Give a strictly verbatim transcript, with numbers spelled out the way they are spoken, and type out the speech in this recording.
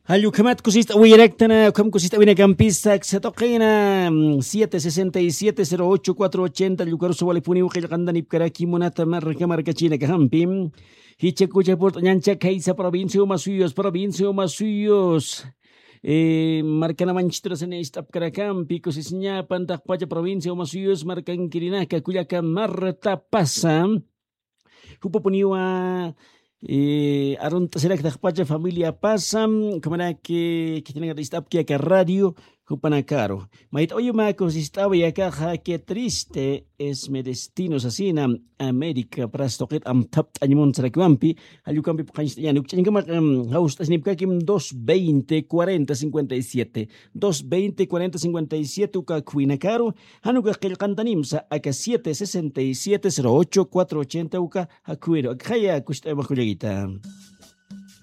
Jall ukhamat kusist'awayaraktana ukham kusist'awinakampisa aksatuqina. Siete sesenta y siete cero ocho cuatro ochenta llukarusa walipuniw qillqantanipkaraki munata marka markachinakajampi. Jichakucha purt'añancha khaysa provincia umasuyus provincia umasuyus. Markanamanchiturasani ist'apkarakampi kusisiñapan taqpacha provincia umasuyus markankirinaka kullaka marta pasa. Jupapuniwa arunt'asiraktaxpacha familia pasa. Ukhamaraki khitinakata ist'apki aka radio jupanakaru mayt'awayumaku sist'awi akaxa que triste es mi destino sasina. América pras tuqit amthapt'añmun sarakiwampi. Jallukampi puqañst'añani ukch'añkama jawst'asinipkakim dos veinte cuarenta cincuenta y siete. Dos veinte cuarenta cincuenta y siete uka khwinakaru. Januka qillqantanimsa aka siete sesenta y siete cero ocho cuatro ochenta uka jakhuwiru akxaya kusist'awimakullagita.